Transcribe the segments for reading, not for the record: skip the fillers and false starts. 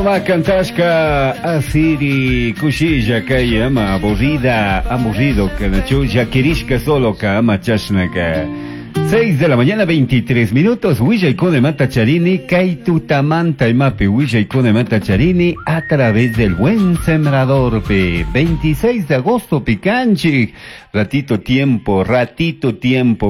Cantashka asiri kushilla kay ama aburrida, aburrido kanachu llakirishka solo ka ama chashnaka. 6 de la mañana 23 minutos, Willaykuna mata charini, kay tutamanta imapi Willaykuna mata charini a través del Buen Sembrador pe 26 de agosto picanchi, ratito tiempo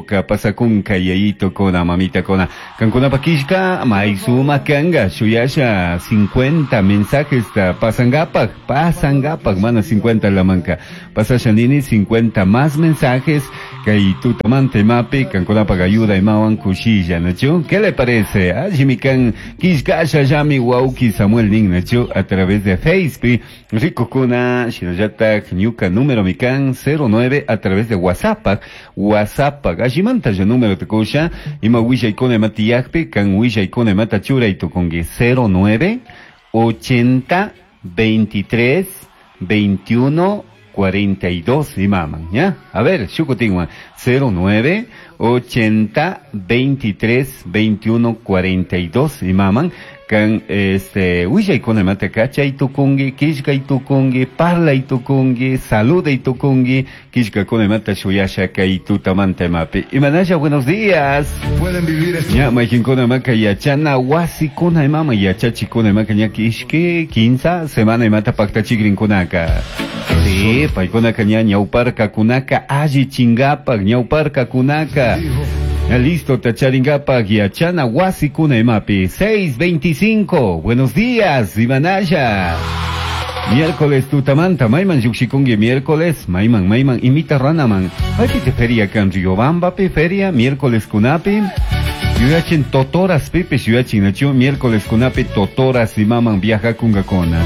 ka pasakunka yayito kona mamita kona. Kankuna pakishka maysuma kanga shuyasha 50 mensajes ta pasangapak, pasangapak mana 50 la manca. Pasasha nini 50 más mensajes kay tutamanta imapi kankunapak ayuda imawan kushilla, ¿nachu? ¿Qué le parece? Allimikan kishkasha yami wauki Samuel nin, ¿nachu? A través de Facebook, rico kuna shinallatak ñuka número mikan 09 a través de WhatsApp, WhatsApp, allimanta ya número te kusha, ima willaykuna imatiyakpi, kan willaykuna imata churay tukunki 09 80 23 21 42 imaman, ¿ya? A ver, shukutinwan, 09 80 23 21 42 imaman, kan este willaykuna imata kachay tukunki, killkay tukunki, parlay tukunki, saluday tukunki, killkakuna imata shuyasha kay tutamanta imapi. Imanasha, buenos días. Pueden vivir esto. Ña, maykinkuna imaka yachana wasikuna imama yachachikuna imaka ña ishki kinsa semana imata paktachikrinkunaka. Sí, paykunaka ña ñawparkakunaka alli chingapak ñawparkakunaka. Ya listo, tacharingapak yachana wasikuna imapi. 6:25. Buenos días, Imanaya. Miércoles tutamanta, mayman llukshikunki miércoles, mayman, mayman, imita ranaman. Maypi te feria kan Riobambapi, feria, miércoles kunapi. Yuyachin totoras pipis yuyachin nachu, miércoles kunapi totoras imaman viaja kungakuna.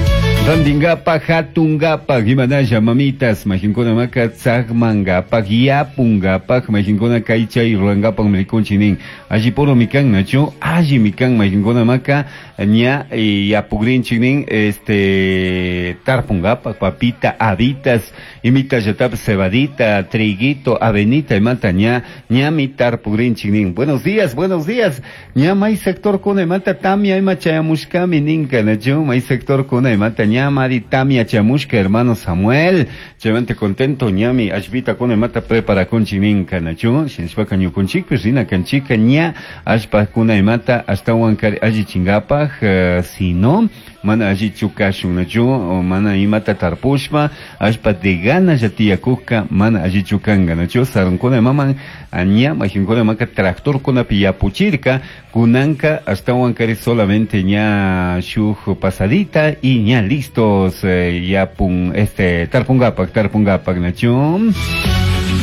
Randingapa, hatungapa, Imanaya, mamitas, majinkuna maka, tzagmangapa, yapungapa, majinkuna kaychay, ruangapa, mrikunchinin. Allí puro mikan nachu, allí mikan, majinkuna maka, ña, yapugrinchinin, este, tarpungapa, papita, habitas, imita yatap, cebadita, triguito, avenita, imata, ña, ñami tarpugrinchinin. Buenos días, buenos días. Ña may sector kuna imata tamia ima chayamushkami ninka nachu, may sector kuna imata ñamari tamia chamushka, hermano Samuel. Chaymanta contento ñami ashpita kuna imata prepara kunchi ninka nachu, shinshpaka ñukunchikpish rina kanchika ña ashpa kuna imata ashtawan kari alli chingapaj, si no, mana alli chukashun nachu, mana imata tarpushpa, ashpa de gana ya tiyakujka, mana alli chukanga nachu, sarunkuna imaman, ña majinkuna imaka tractor kunapi yapuchirka, kunanka ashtawan kari solamente ña shuj pasadita y ña listos, yapun, este, tarpungapak, tarpungapak nachu.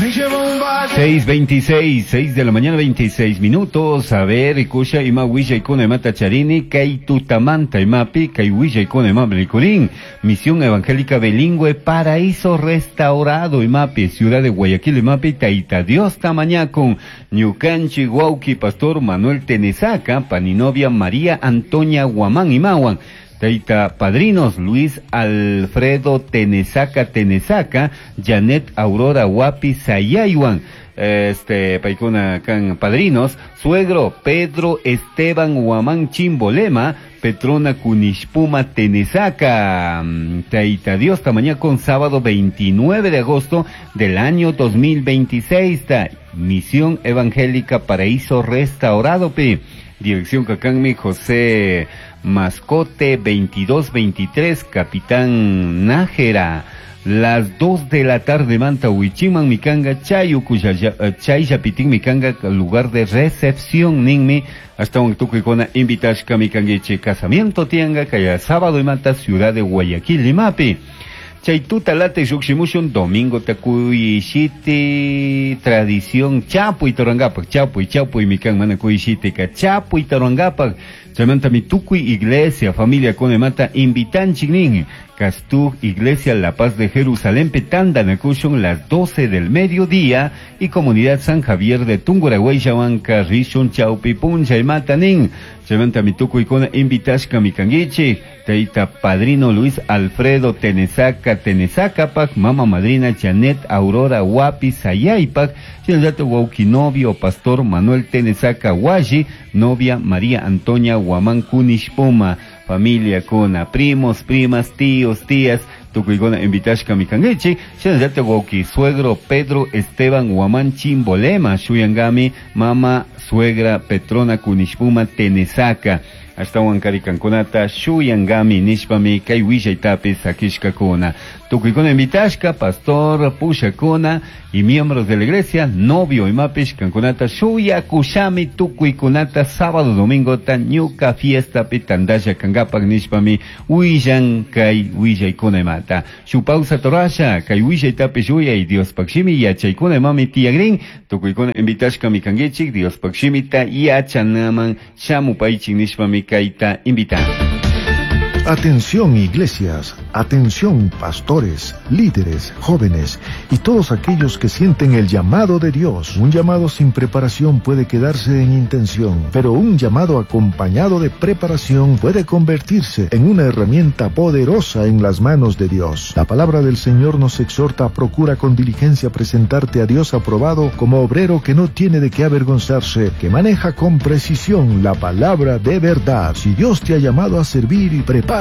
Me llevo un valle. 6:26, 6 de la mañana, 26 minutos. A ver, kusha ima willa ikuna imata charini, kay tutamanta imapi, kay willa ikuna imam rikurin. Misión Evangélica Bilingüe, Paraíso Restaurado imapi, Ciudad de Guayaquil imapi, Taita Dios tamañacun, Ñucanchi, Guauqui, Pastor Manuel Tenesaca, Paninovia María Antonia Guamán imawan. Taita padrinos Luis Alfredo Tenesaca Tenesaca, Janet Aurora Guapi Sayaywan, este, paikuna kan padrinos, suegro Pedro Esteban Guamán Chimbolema, Petrona Kunishpuma Tenesaca. Taita Dios tamaña con sábado 29 de agosto del año 2026, ta, Misión Evangélica Paraíso Restaurado pi. Dirección Cacanmi José Mascote 2223, Capitán Nájera. Las 2 de la tarde, Manta Huichiman, Mikanga, Chayu, Chayyapitín, Mikanga, lugar de recepción, Ninmi, hasta un tucuicona, invitashka, Mikanguiche, casamiento, tianga, kaya sábado y manta, ciudad de Guayaquil, Limapi. Chaytuta late yukshimushun, domingo takuyishiti, tradición, chapuy torangapak, chapuy, chapuy, mikan, mana kuyishiti, ka chapuy torangapak, chaymanta mi tukuy iglesia, familia konemata, invitanchik nin, Castug, Iglesia La Paz de Jerusalén, Petanda, Nacushun, las 12 del mediodía, y Comunidad San Javier de Tungurahua, Yahuanca, Rishun, Chaupi, Puncha y Matanin. Chaymanta mi tukuy kona, invitashka mikanguichi, Taita Padrino Luis Alfredo Tenesaca, Tenesacapac, Mama Madrina Janet Aurora Guapi Sayaypac, Shinyato Wauki novio Pastor Manuel Tenesaca Guayi, novia María Antonia Guamán Kunishpuma. Familiakuna, primos, primas, tíos, tías, tukuykuna invitashkami kankichik. Shinallatak wawki suegro Pedro Esteban Huamán Chimbolema shuyangami mama suegra Petrona Kunishpuma Tenesaca. Ashtawan karikankunata shuyangami nishpami kay willaytapi sakishkakuna. Tukuykuna invitashka, pastor, pushakuna y miembros de la iglesia, novio imapish kankunata shuyakushami tukuykunata sábado domingo ta ñuka fiesta pi tandasha kangapak nishpami willan kay willaykuna imata. Shu pausa torasha kay willaytapi shuyay Diospaq shimi yachaykuna imami tiyagrin tukuykuna invitashkami kankichik Diospaq shimita yachanaman shamupaychik nishpami kayta invitan. Atención iglesias, atención pastores, líderes, jóvenes y todos aquellos que sienten el llamado de Dios. Un llamado sin preparación puede quedarse en intención, pero un llamado acompañado de preparación puede convertirse en una herramienta poderosa en las manos de Dios. La palabra del Señor nos exhorta a procura con diligencia presentarte a Dios aprobado como obrero que no tiene de qué avergonzarse, que maneja con precisión la palabra de verdad. Si Dios te ha llamado a servir, prepárate.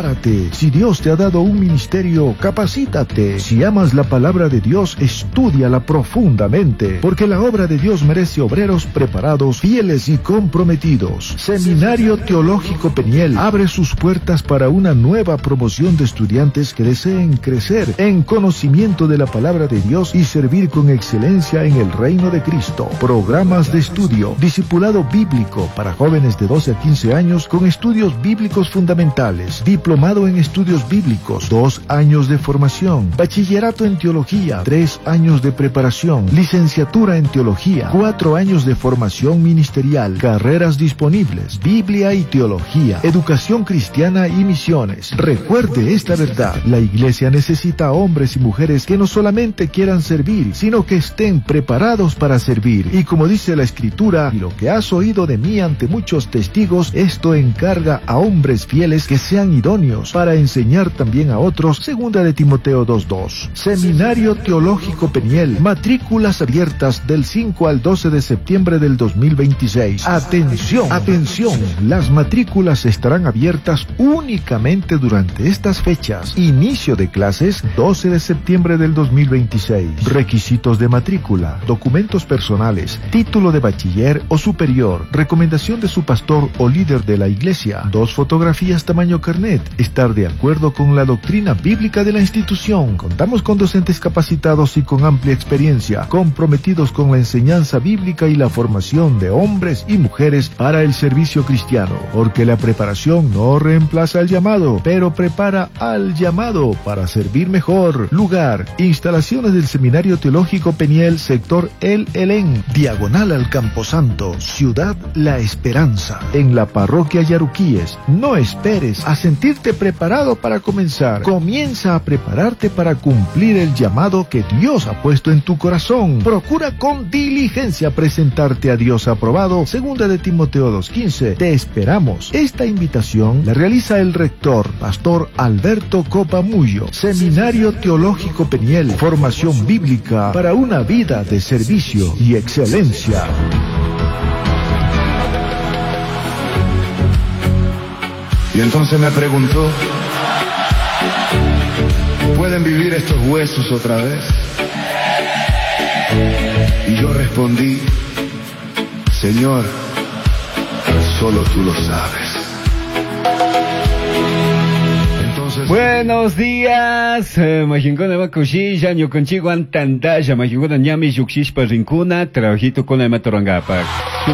Si Dios te ha dado un ministerio, capacítate. Si amas la palabra de Dios, estúdiala profundamente, porque la obra de Dios merece obreros preparados, fieles y comprometidos. Seminario Teológico Peniel abre sus puertas para una nueva promoción de estudiantes que deseen crecer en conocimiento de la palabra de Dios y servir con excelencia en el reino de Cristo. Programas de estudio, discipulado bíblico para jóvenes de 12 a 15 años con estudios bíblicos fundamentales, diplomado en estudios bíblicos, 2 años de formación, bachillerato en teología, 3 años de preparación, licenciatura en teología, 4 años de formación ministerial, carreras disponibles, Biblia y teología, educación cristiana y misiones. Recuerde esta verdad, la iglesia necesita hombres y mujeres que no solamente quieran servir, sino que estén preparados para servir. Y como dice la escritura, y lo que has oído de mí ante muchos testigos, esto encarga a hombres fieles que sean idóneos para enseñar también a otros. Segunda de Timoteo 2:2. Seminario Teológico Peniel, matrículas abiertas del 5 al 12 de septiembre del 2026. Atención, atención, las matrículas estarán abiertas únicamente durante estas fechas. Inicio de clases 12 de septiembre del 2026. Requisitos de matrícula, documentos personales, título de bachiller o superior, recomendación de su pastor o líder de la iglesia, 2 fotografías tamaño carnet, estar de acuerdo con la doctrina bíblica de la institución. Contamos con docentes capacitados y con amplia experiencia, comprometidos con la enseñanza bíblica y la formación de hombres y mujeres para el servicio cristiano, porque la preparación no reemplaza al llamado, pero prepara al llamado para servir mejor. Lugar, instalaciones del Seminario Teológico Peniel, sector El Elén, diagonal al Camposanto, Ciudad La Esperanza, en la parroquia Yaruquíes. No esperes a sentirte preparado para comenzar. Comienza a prepararte para cumplir el llamado que Dios ha puesto en tu corazón. Procura con diligencia presentarte a Dios aprobado. Segunda de Timoteo 2:15. Te esperamos. Esta invitación la realiza el rector, Pastor Alberto Copamullo. Seminario Teológico Peniel, formación bíblica para una vida de servicio y excelencia. Y entonces me preguntó, ¿pueden vivir estos huesos otra vez? Y yo respondí, Señor, solo tú lo sabes. Entonces, buenos días, majinkuna makushilla, ñukanchikwan antandalla, majinkuna ñami lluqshishpa rinkuna, trabajito con la matorangapa.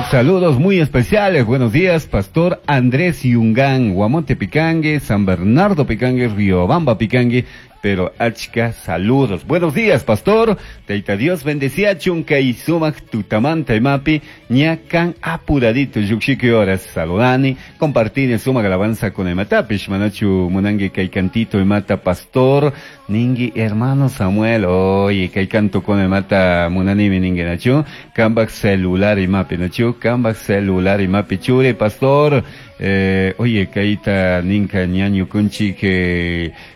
Saludos muy especiales, buenos días, Pastor Andrés Yungán, Guamonte Picangue, San Bernardo Picangue, Riobamba Picangue, pero achka saludos. Buenos días, pastor. Taita Dios bendecía chunka y sumak tutamanta imapi ñakan apuradito yuxiki horas saludani compartir sumak alabanza con el matapish manachu munangue kay cantito y mata pastor ningui hermano Samuel oye kay canto con el mata munanimi ningue nachu kambak celular imapi nachu kambak celular imapi chure pastor. Oye, kayta ninka ñañu kunchik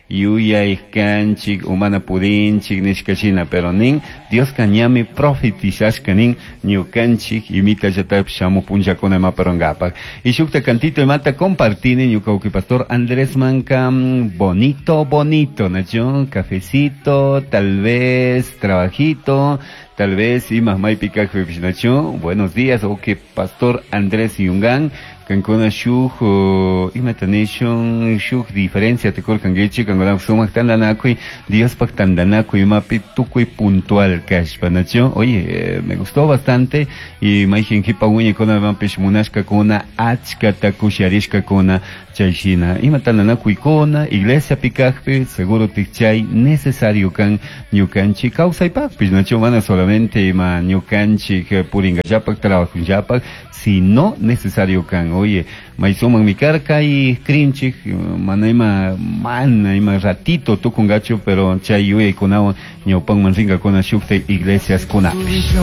yuyay kanchik umana pudinchik nishka shina, pero nin Dioska ñami profetizashka nin ñukanchik imita llatapish shamuj punllakuna imaparongapak. Y shukta cantito imata compartini ñuka uki pastor Andrés Manca, bonito, bonito, nacho, cafecito, tal vez trabajito, tal vez ima maypi kajpipish, nacho. Buenos días, ok, pastor Andrés Yungán. Kankuna shuj imata nishun shuj diferencia tikurkankichik kankuna sumak tantanakuy Diospaj tantanakuy imapi tukuy puntual kashpa, nacho. Oye, me gustó bastante y mayjin kipa wiñaykunamanpish munashkakuna achkata kusharishkakuna chay shina ima tantanakuykuna iglesiapi kajpi seguro chay necesario kan ñukanchik kawsaypakpish, nacho, mana solamente ima ñukanchik purinkallapak trabajullapak, sino necesario kan. Oye, maysuman mi karka y krinchik mana ima mana ima ratito tukungachu, pero chay yuyaykunawan ñawpanman rinkakuna shukta iglesias kunapish.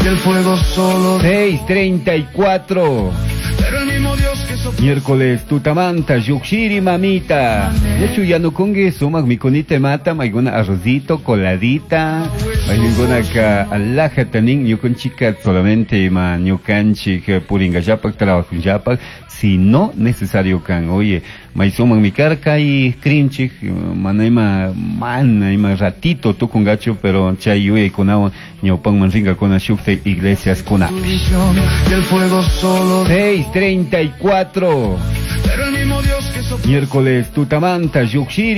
Y el fuego solo 6:34. Pero el mismo Dios que sopló Miércoles tutamanta llukshiri mamita. De hecho ya no kungi sumak mikunita mata mayguna arrocito coladita. Mayguna ka alaja tanin ñukunchika solamente ima ñukanchik puringallapak trabajullapak, sino necesario kan. Oye, maysuman mi karka y krinchik mana ima mana ima ratito tukungachu, pero chay yuyaykunawan ñawpanman rinkakuna shukta iglesias kunapish. Y el fuego solo 6:34. Pero el mismo Dios que sopló Miércoles tutamanta llukshiri.